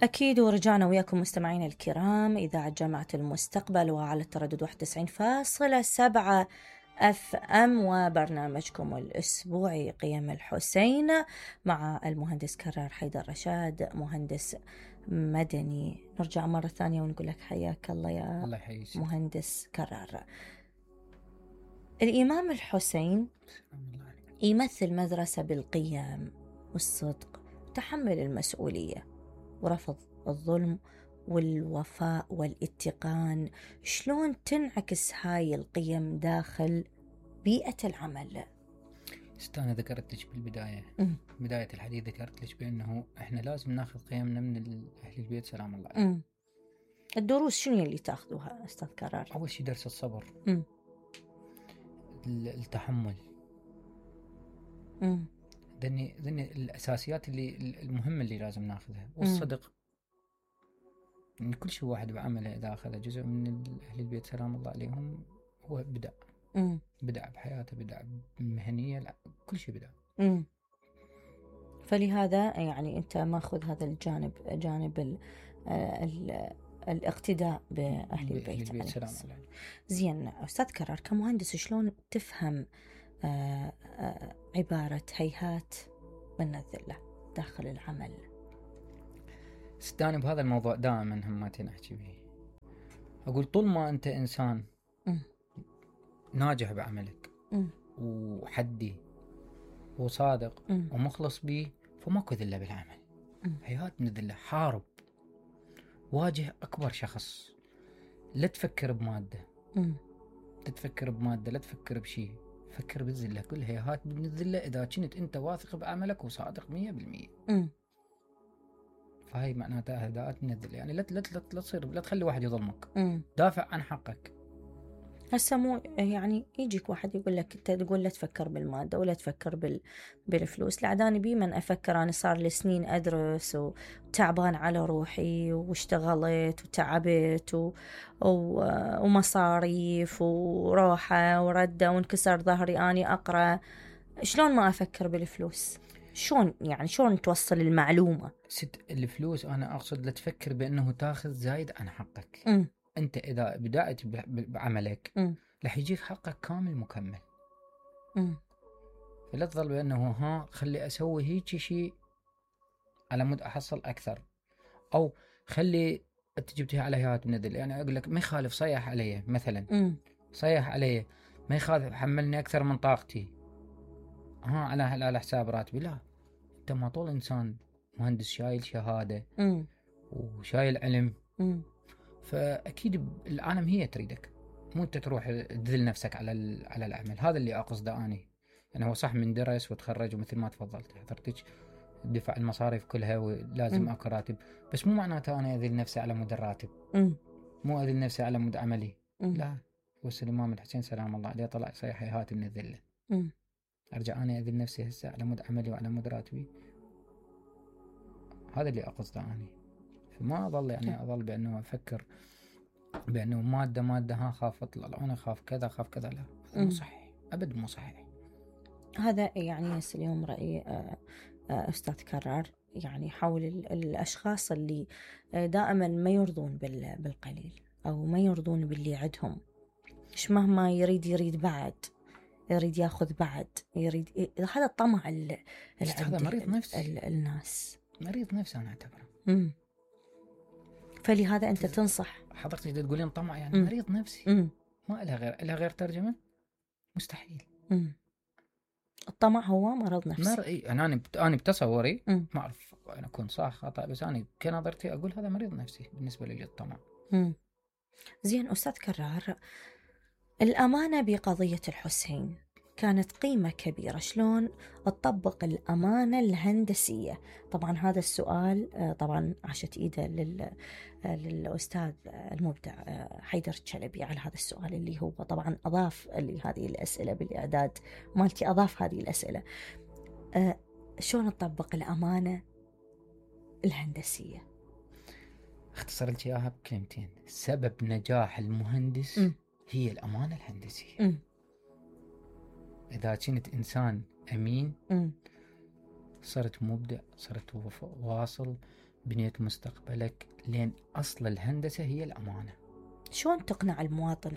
أكيد، ورجعنا وياكم مستمعين الكرام إذاعة جامعة المستقبل وعلى التردد 91.7 FM وبرنامجكم الأسبوعي قيم الحسين مع المهندس كرار حيدر رشاد، مهندس مدني. نرجع مرة ثانية ونقول لك حياك الله يا الله يحييك مهندس كرار. الإمام الحسين يمثل مدرسة بالقيم والصدق، تحمل المسؤولية ورفض الظلم والوفاء والاتقان. شلون تنعكس هاي القيم داخل بيئة العمل؟ أنا ذكرت لك بالبداية بداية الحديث ذكرت لك بأنه إحنا لازم ناخذ قيمنا من أهل البيت سلام الله عليهم. الدروس شنو اللي تاخذوها أستاذ كرار؟ أول شيء درس الصبر، التحمل، ذني الأساسيات اللي المهمة اللي لازم ناخذها، والصدق. يعني كل شيء واحد بعمله إذا أخذ جزء من أهل البيت سلام الله عليهم هو بدأ بحياته، بدأ بمهنية، كل شيء بدأ. فلهذا يعني أنت ماخذ هذا الجانب، جانب الاقتداء بأهل البيت سلام الله عليهم. زين أستاذ كرار، كمهندس شلون تفهم عبارة هيهات من الذلة داخل العمل؟ استاني بهذا الموضوع دائما همتين أحكي به. أقول طول ما أنت إنسان ناجح بعملك وحدي وصادق ومخلص به، فماكو ذلة بالعمل. هيهات من الذلة، حارب، واجه أكبر شخص، لا تفكر بمادة، لا تفكر بشيء، فكر بالذلة. كل هيهات من الذلة إذا كنت أنت واثق بعملك وصادق 100%. فهي معناتها هداءات من الذلة. يعني لا تصير، لا تخلي واحد يظلمك، دافع عن حقك. هسه مو يعني يجيك واحد يقول لك انت تقول لا تفكر بالماده ولا تفكر بالفلوس. لعداني بي من افكر، انا صار لي سنين ادرس وتعبان على روحي واشتغلت وتعبت ومصاريف وروحه ورده وانكسر ظهري اني اقرا. شلون ما افكر بالفلوس؟ شلون يعني شلون توصل المعلومه؟ الفلوس انا اقصد لا تفكر بانه تاخذ زايد عن حقك. انت اذا بدأت بعملك رح يجيك حقك كامل مكمل. فلا تظل بانه خلي اسوي هيك شيء على مود احصل اكثر، او خلي انت جبتها على هيئات من الذل. يعني اقول لك ما يخالف صيح علي مثلا، صيح علي ما يخالف حملني اكثر من طاقتي على حساب راتبي. لا، انت ما طول انسان مهندس شايل شهاده وشايل علم، فاكيد العالم هي تريدك، مو انت تروح تذل نفسك على العمل. هذا اللي اقصده اني. يعني هو صح من درس وتخرج ومثل ما تفضلت حضرتك دفع المصاريف كلها ولازم اكو راتب، بس مو معناته انا اذل نفسي على مود الراتب، مو اذل نفسي على مود عملي. لا، وصل الامام الحسين سلام الله عليه طلع صيح هيهات من الذله. ارجع انا اذل نفسي هسه على مود عملي وعلى مود راتبي؟ هذا اللي اقصده اني. فما اظل يعني اظل بانه افكر بانه ماده خاف اطلع انا خاف كذا. لا، مو صحيح ابد، مو صحيح. هذا يعني اليوم رايي استاذ كرار يعني حول الاشخاص اللي دائما ما يرضون بالقليل او ما يرضون باللي عندهم. ايش مهما يريد بعد، يريد ياخذ بعد، يريد. هذا الطمع هذا مريض نفس الناس، مريض نفس انا اعتبره. فلهذا انت تنصح حضرتك تقولين طمع يعني مريض نفسي. ما لها غير ترجمه، مستحيل. الطمع هو مرض نفسي. انا بتصوري ما اعرف انا اكون صح خطا، بس انا كنظرتي اقول هذا مريض نفسي بالنسبه لي الطمع. زين استاذ كرار، الامانه بقضيه الحسين كانت قيمة كبيرة. شلون تطبق الأمانة الهندسية؟ طبعا هذا السؤال طبعا عاشت إيده للأستاذ المبدع حيدر الشلبي على هذا السؤال، اللي هو طبعا أضاف لهذه الأسئلة بالإعداد مالتي، أضاف هذه الأسئلة. شلون نطبق الأمانة الهندسية؟ اختصر لك إياها بكلمتين. سبب نجاح المهندس هي الأمانة الهندسية. إذا كنت إنسان أمين صرت مبدع، صرت واصل، بنيت مستقبلك، لين أصل الهندسة هي الأمانة. شلون تقنع المواطن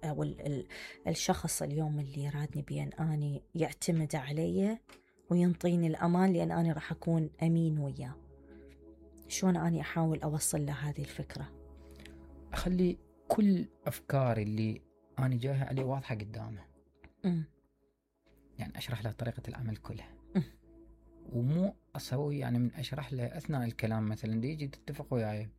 أو الشخص اليوم اللي رادني بين أني يعتمد علي وينطيني الأمان لأن أنا راح أكون أمين وياه؟ شلون أني أحاول أوصل له هذه الفكرة؟ أخلي كل أفكاري اللي أنا جايها عليه واضحة قدامه. يعني أشرح له طريقة العمل كلها. ومو أسوي يعني من أشرح له أثناء الكلام مثلا دي يجي تتفق وياي.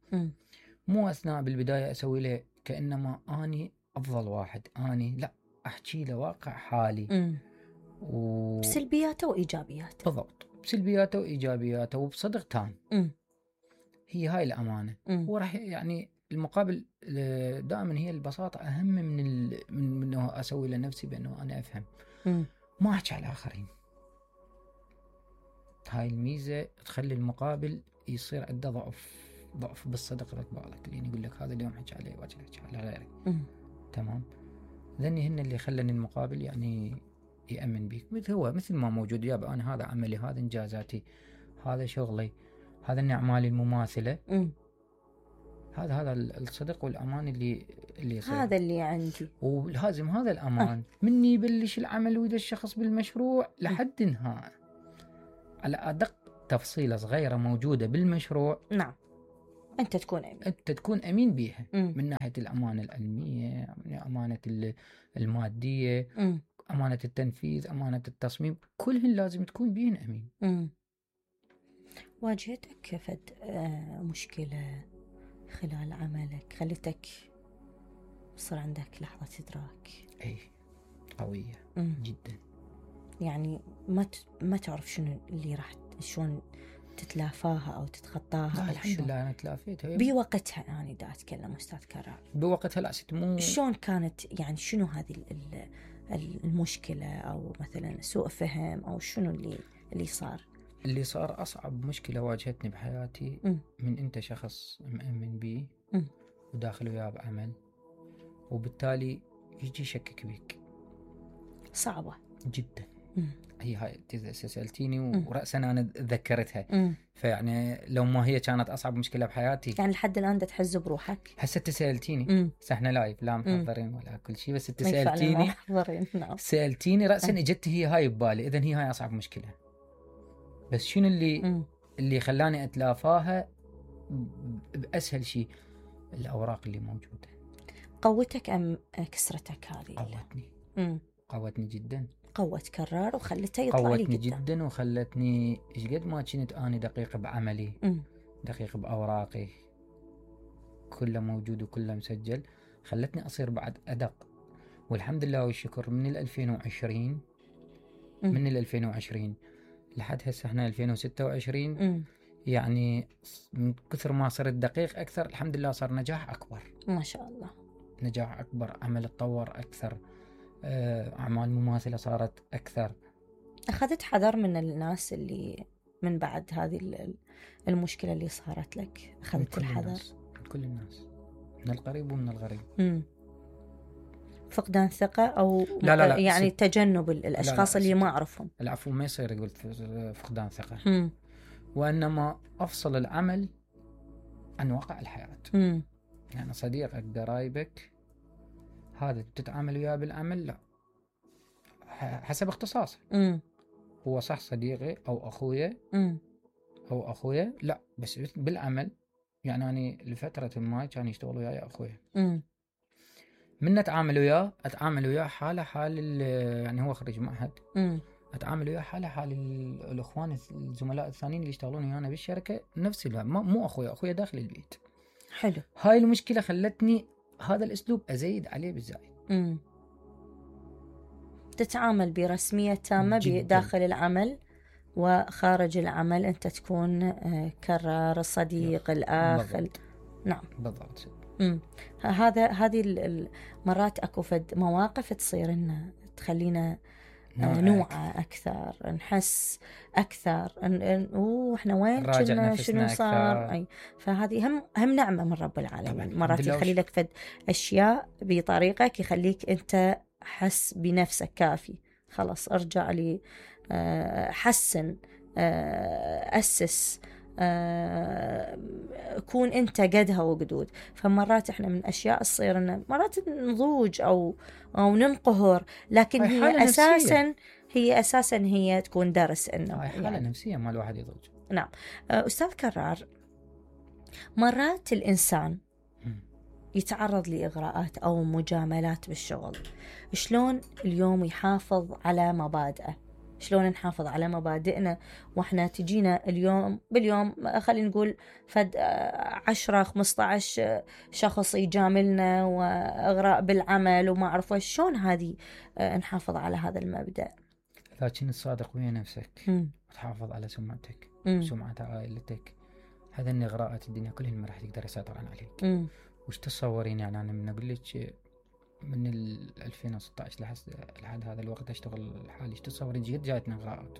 مو أثناء بالبداية أسوي له كأنما أني أفضل واحد، أني لا، أحكي له واقع حالي بسلبياته وإيجابياته. بالضبط، بسلبياته وإيجابياته وبصدق تام. هي هاي الأمانة. وراح يعني المقابل دائما هي البساطة أهم من إنه أسوي لنفسي بأنه أنا أفهم. ما أحكي على الآخرين. هاي الميزة تخلي المقابل يصير عنده ضعف بالصدق بالك، لأن يقول لك هذا اليوم حكي عليه واجي حكي على غيرك. تمام. ذني هن اللي خلني المقابل يعني يأمن بيك. مثل ما موجود يابا، أنا هذا عملي، هذا إنجازاتي، هذا شغلي، هذا أعمالي المماثلة. هذا الصدق والأمان اللي يصير. هذا اللي عندي، ولازم هذا الأمان مني يبلش العمل وإذا الشخص بالمشروع لحد انهاء على أدق تفصيلة صغيرة موجودة بالمشروع. نعم، أنت تكون أمين بيها. من ناحية الأمانة العلمية، أمانة المادية، أمانة التنفيذ، أمانة التصميم، كلهن لازم تكون بيهن أمين. واجهتك فد مشكلة خلال عملك خلتك صار عندك لحظة إدراك؟ أي قوية جدا. يعني ما تعرف شنو اللي راح شلون تتلافاها أو تتخطاها؟ الحمد لله أنا تلافيتها بوقتها. أنا دا أتكلم أستاذ كرار بوقتها. لا ستمو شلون كانت، يعني شنو هذه المشكلة أو مثلا سوء فهم أو شنو اللي صار؟ اللي صار أصعب مشكلة واجهتني بحياتي من أنت شخص مؤمن بيه وداخل وياه بعمل، وبالتالي يجي يشكك بيك. صعبة جدا. هاي سألتيني ورأسا أنا تذكرتها. فيعني لو ما هي كانت أصعب مشكلة بحياتي، يعني لحد الآن دا تحز بروحك. هسه تسألتيني احنا لايف لا محضرين ولا كل شيء، بس تسألتيني سألتيني رأسا اجت هي هاي ببالي. إذن هي هاي أصعب مشكلة. بس شنو اللي خلاني أتلافاها بأسهل شيء؟ الأوراق اللي موجودة. قوتك أم كسرتك هذه؟ قوتني جدا. قوت كرار وخلته يطلع لي قوتني جدا وخلتني قد ما كنت أنا دقيق بعملي، دقيق بأوراقي، كله موجود وكله مسجل، خلتني أصير بعد أدق. والحمد لله والشكر من 2020 من 2020 لحد هسه احنا 2026. يعني من كثر ما صرت دقيق أكثر الحمد لله صار نجاح أكبر. ما شاء الله. نجاح أكبر، عمل تطور أكثر، أعمال مماثلة صارت أكثر. أخذت حذر من الناس اللي من بعد هذه المشكلة اللي صارت لك؟ أخذت الحذر من كل الناس، من القريب ومن الغريب. فقدان ثقة أو لا يعني تجنب الأشخاص اللي ما أعرفهم؟ العفو، ما يصير قلت فقدان ثقة. وإنما أفصل العمل عن واقع الحياة. يعني صديقك قرايبك هذا تتعامل وياه بالعمل لا حسب اختصاصه. هو صح صديقي أو أخويا لا، بس بالعمل يعني أنا لفترة ما كان يشتغل وياي أخويا. من أتعامل وياه حالة حال يعني هو خريج معهد. أتعامل وياه حال الأخوان الزملاء الثانيين اللي يشتغلون ويانا بالشركة نفس الوقت. مو أخويا داخل البيت. حلو. هاي المشكلة خلتني هذا الأسلوب أزيد عليه بالزايد. تتعامل برسمية تامة داخل العمل وخارج العمل. أنت تكون كرار الصديق الأخ. نعم بالضبط. هذه المرات أكو فد مواقف تصير لنا تخلينا نوعى أكثر، نحس أكثر إحنا وين كنا، شنو صار. فهذه هم نعمة من رب العالمين. مرات يخلي لك فد أشياء بطريقك يخليك أنت حس بنفسك كافي، خلاص ارجع لي حسن أسس، كون أنت قدها وقدود. فمرات إحنا من أشياء تصير إن مرات نضوج أو ننقهر، لكن هي أساسا هي تكون درس إنه حالة يعني نفسية ما الواحد يضوج. نعم. أستاذ كرار، مرات الإنسان يتعرض لإغراءات أو مجاملات بالشغل، شلون اليوم يحافظ على مبادئه؟ شلون نحافظ على مبادئنا وإحنا تجينا اليوم باليوم خلينا نقول فد 10-15 شخص يجاملنا وإغراء بالعمل وما أعرف شلون هذه نحافظ على هذا المبدأ؟ إذا كنت صادق ويا نفسك وتحافظ على سمعتك وسمعة عائلتك، هذا الإغراءات الدنيا كلهن ما راح تقدر يسيطرون عليك. وش تصورين؟ يعني أنا من أقول لك من 2016 لحد هذا الوقت أشتغل حالي، تصورين جد جايتنا إغراءات،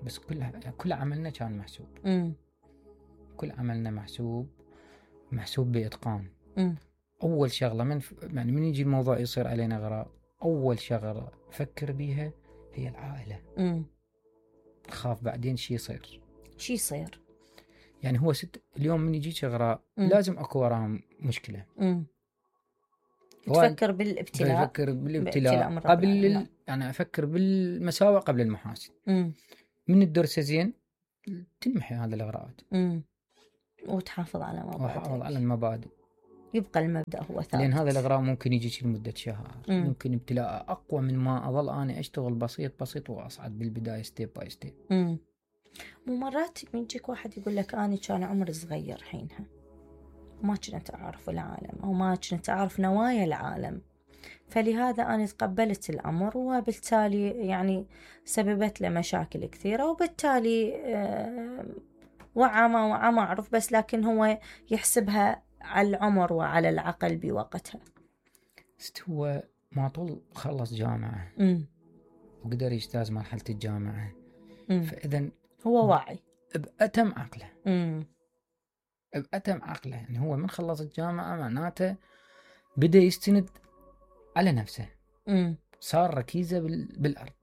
بس كل عملنا كان محسوب. كل عملنا محسوب بإتقان. أول شغلة يعني من يجي الموضوع يصير علينا إغراء، أول شغلة فكر بيها هي العائلة. خاف بعدين شي يصير. يعني هو اليوم من يجيك إغراء لازم أكو وراها مشكلة. تفكر بالابتلاء. قبل يعني أفكر بالمساوئ قبل المحاسن. من الدرس زين تنمحي هذه الإغراءات وتحافظ على المبادئ. يبقى المبدأ هو ثابت، لأن هذا الإغراء ممكن يجيك لمدة شهر، ممكن ابتلاء أقوى من ما أظل أنا أشتغل بسيط وأصعد بالبداية ستيب باي ستيب. ومرات يجيك واحد يقول لك أنا كان عمري صغير حينها ما كنت أعرف العالم أو ما كنت أعرف نوايا العالم، فلهذا أنا تقبلت الأمر وبالتالي يعني سببت له مشاكل كثيرة، وبالتالي وعى ما أعرف، بس لكن هو يحسبها على العمر وعلى العقل بوقتها. هو ما طول خلص جامعة وقدر يجتاز مرحلة الجامعة، فإذا هو واعي بأتم عقله. يعني هو من خلص الجامعة معناته بدأ يستند على نفسه، صار ركيزة بالأرض.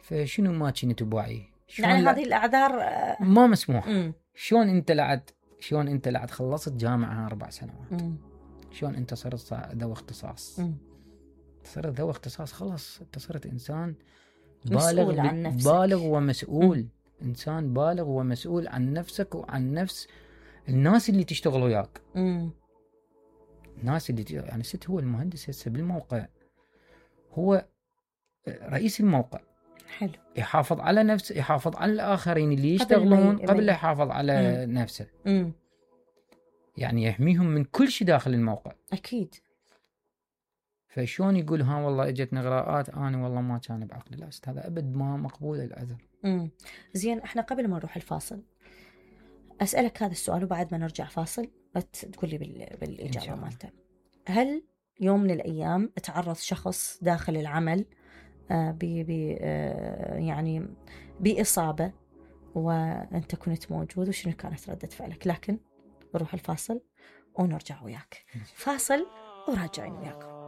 فشنو ما كنت بوعي؟ يعني هذه الأعذار ما مسموح. شلون أنت لعد خلصت جامعة 4 سنوات، شلون أنت صرت ذو اختصاص؟ صرت ذو اختصاص خلاص، أنت صرت إنسان بالغ ومسؤول. إنسان بالغ ومسؤول عن نفسك وعن نفس الناس اللي تشتغل وياك. الناس اللي يعني هو المهندس هسه بالموقع، هو رئيس الموقع. حلو. يحافظ على نفسه، يحافظ على الآخرين اللي يشتغلون قبل لا يحافظ على نفسه. يعني يحميهم من كل شيء داخل الموقع. أكيد. فشون يقول ها والله اجتني إغراءات أنا والله ما كان بعقلي؟ لا، هذا أبد ما مقبول العذر. زين، احنا قبل ما نروح الفاصل أسألك هذا السؤال، وبعد ما نرجع فاصل تقول لي بالإجابة مالته. هل يوم من الأيام تعرض شخص داخل العمل يعني بإصابة وأنت كنت موجود، وشنو كانت ردة فعلك؟ لكن نروح الفاصل ونرجع وياك. فاصل وراجعين وياكم.